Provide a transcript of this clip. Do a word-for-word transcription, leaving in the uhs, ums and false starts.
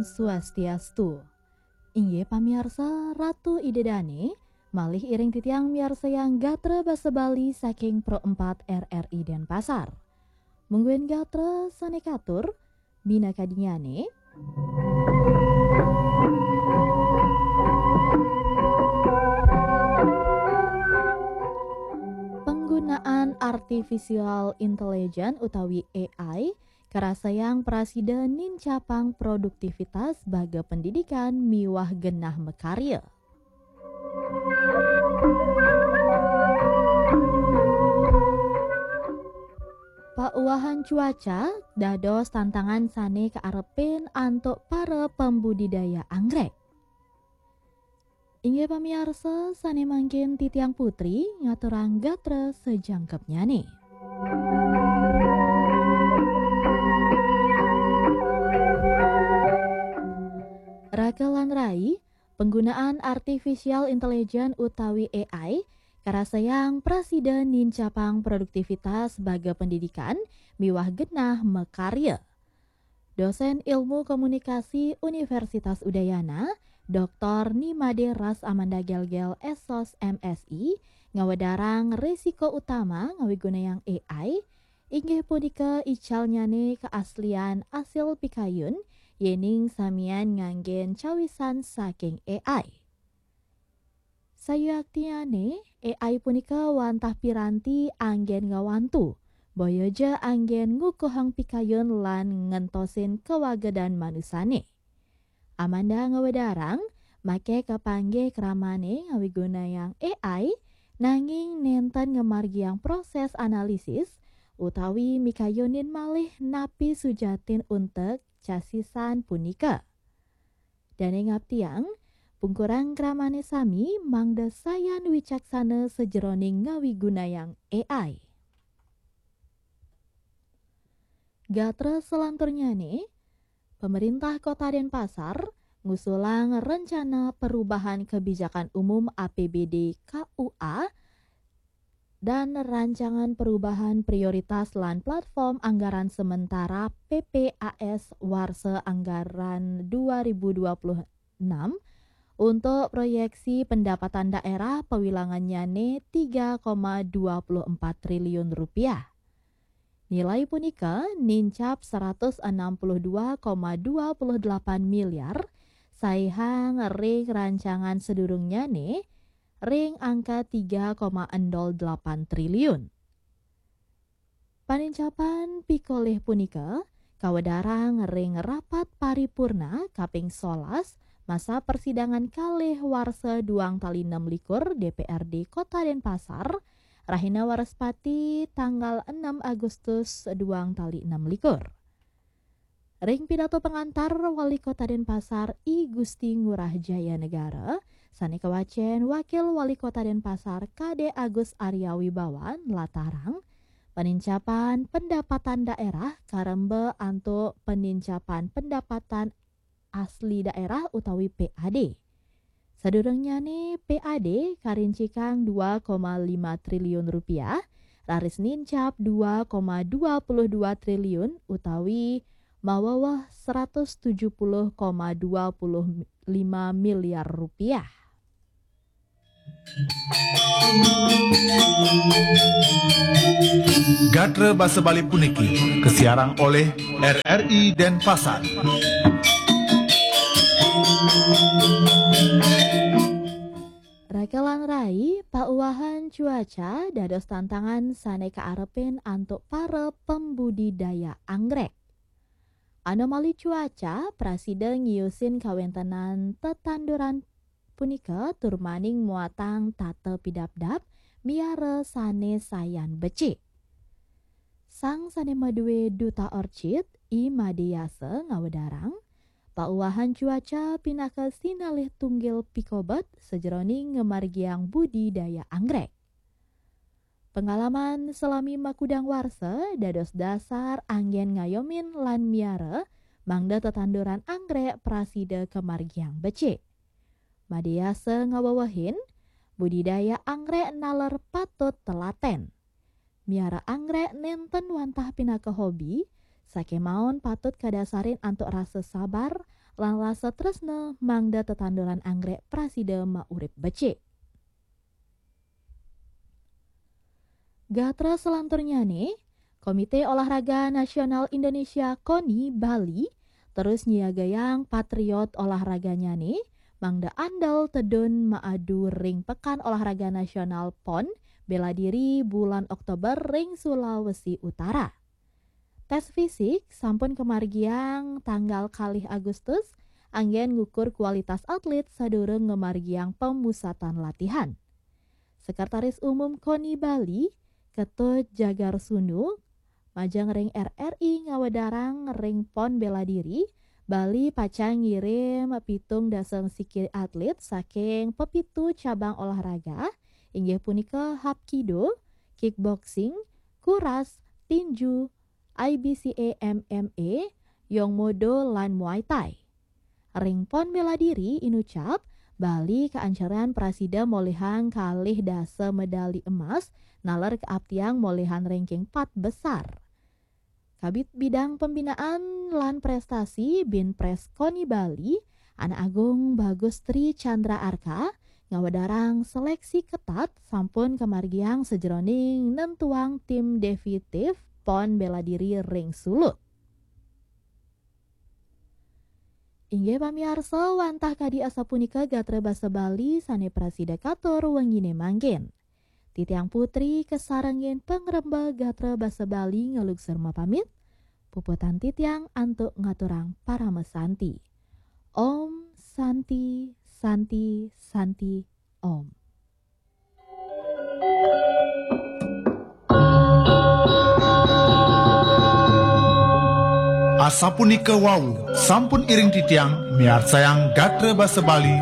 Swastiastu. Inggih pamiarsa, Ratu Ida Dane, malih iring titiang miarsayang gatra basa Bali saking Pro empat R R I Denpasar. Mungguing gatra sane katur, minakadinyane, penggunaan artificial intelligence utawi A I karasayang prasida nincapang produktivitas baga pendidikan miwah genah makarya. Pauwahan cuaca dados tantangan sane kaarepin antuk para pembudidaya anggrek. Inggih pamiarsa, sane mangkin titiang Putri ngaturang gatra sajangkepnyane. Raka lan rai, penggunaan artificial intelligence utawi A I karasayang prasida nincapang produktivitas baga pendidikan miwah genah makarya. Dosen Ilmu Komunikasi Universitas Udayana, Doktor Nimade Ras Amanda Gelgel, S Sos, M Si, ngawedarang resiko utama ngawigunayang A I, inggih punika icalnyane keaslian asil pikayun, yening samian nganggen cawisan saking A I. Sayuaktiane, A I punika wantah piranti anggen ngawantu, boya ja anggen ngukuhang pikayun lan ngentosin kawagedan manusane. Amanda ngawedarang, make kapanggih kramane ngawigunayang A I, nanging nenten ngamargiang proses analisis utawi mikayunin malih napi sujatin untek casisan punika. Dane ngaptiang, pungkurang kramane sami mangda sayan wicaksana sajeroning ngawigunayang A I. Gatra salanturnyane, Pemerintah Kota Denpasar ngusulang Rencana Perubahan Kebijakan Umum, A P B D, K U A, dan Rancangan Perubahan Prioritas lan Platform Anggaran Sementara, P P A S, warsa anggaran dua ribu dua puluh enam untuk proyeksi pendapatan daerah pawilangannyane tiga koma dua puluh empat triliun rupiah. Nilai punika nincap seratus enam puluh dua koma dua puluh delapan miliar, saihang ring rancangan sadurungnyane ring angka tiga koma nol delapan triliun. Panincapan pikolih punika kawedarang ring rapat paripurna kaping solas masa persidangan kalih warsa duang tali enam likur D P R D Kota Denpasar, rahina Waraspati, tanggal enam Agustus duang tali enam likur. Ring pidato pengantar Wali Kota Denpasar, I Gusti Ngurah Jaya Negara, sane kawacen Wakil Wali Kota Denpasar, Kade Agus Arya Wibawa, nlatarang, panincapan pendapatan daerah karemba antuk panincapan pendapatan asli daerah utawi P A D. Sadurungnyane P A D karincikang dua koma lima triliun rupiah, raris nincap dua koma dua puluh dua triliun utawi maweweh seratus tujuh puluh koma dua puluh lima miliar rupiah. Gatra basa Bali puniki kasiarang olih R R I Denpasar. Raka lan rai, pauwahan cuaca dados tantangan sane kaarepin antuk para pembudidaya anggrek. Anomali cuaca prasida ngiusin kawentenan tetanduran punika tur maning muatang tata pidabdab miara sane sayan becik. Sang sane madue Duta Orchid, I Made Yasa, ngawedarang, pauwahan cuaca pinaka sinalih tunggil pikobet sajeroning ngamargiang budidaya anggrek. Pengalaman salami makudang warsa dados dasar anggen ngayomin lan miara mangda tetanduran anggrek prasida kamargiang becik. Made Yasa ngawewehin, budidaya anggrek naler patut telaten. Miara anggrek nenten wantah pinaka hobi, sakemaon patut kadasarin antuk rasa sabar lan rasa tresna mangda tetanduran anggrek prasida maurip becik. Gatra selanturnyane, Komite Olahraga Nasional Indonesia, KONI, Bali terus nyiagayang patriot olahraganyane mangda andal tedun maadu ring Pekan Olahraga Nasional, PON, Bela Diri bulan Oktober ring Sulawesi Utara. Tes fisik sampun kamargiang tanggal kalih Agustus, anggen ngukur kualitas atlet sadurung ngamargiang pemusatan latihan. Sekretaris Umum KONI Bali, Ketut Jagar Sunu, majeng ring R R I ngawedarang ring PON Bela Diri, Bali pacang ngirim pitung dasa siki atlet saking pepitu cabang olahraga, inggih punika Hapkido, kickboxing, kuras, tinju, I B C A M M A, Yongmodo, lan Muay Thai. Ring PON Bela Diri inucap, Bali kaancaran prasida molihang kalih dasa medali emas, naler kaaptiang molihang ranking pat besar. Kabid Bidang Pembinaan lan Prestasi, Binpres, KONI Bali, Anak Agung Bagus Tri Chandra Arka, ngawedarang seleksi ketat sampun kamargiang sajeroning nentuang tim definitif PON Bela Diri ring Sulut. Inggih pamiarsa, wantah kadi asapunika gatra basa Bali sane prasida katur wengine mangkin. Titiang Putri kasarengin pangrembag gatra basa Bali ngalugsur mapamit. Puputang titiang antuk ngaturang parama santi. Om Santi, Santi, Santi, Om. Asapunika wau, sampun iring titiang miarsayang gatra basa Bali